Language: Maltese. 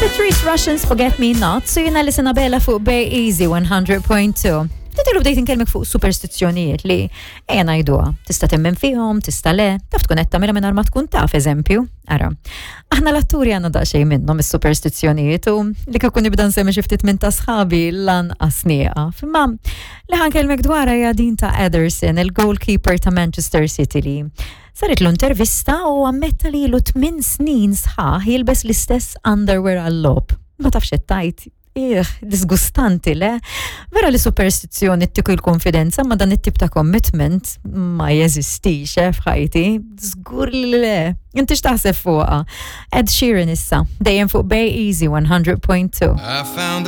Patrice Russians Forget Me Not, so jena li sena bella fuq Bay Easy 100.2. Ftit ilu bdejt inkellmek fuq superstizzjonijiet li ejja ngħiduha. Tista' temmen fihom, tista' le, taf tkun qed tagħmilha mingħajr ma tkun taf eżempju. Ara. Aħna l-atturi għandna daqsxejn minnhom is-superstizzjonijiet u li kieku nibda nsemmi xi ftit minn ta' sħabi lanqas nieqaf. Imma li ħankellmek dwarha hija din ta' Ederson, il-goalkeeper ta' Manchester City li Saritlu intervista u ammetta li ilu tminn snin sħaħ jilbes l-istess underwear għal-logħob. Ma tafx qed tgħid. Ih, disgustanti le. Vera li superstizzjoni ttik il-konfidenza ma dan it-tip ta' commitment ma jeżistix eh, f'ħajti. Żgur li le. Inti x'taħseb fuqha? Ed Sheeran issa, dejjem fuq Bay Easy 100.2.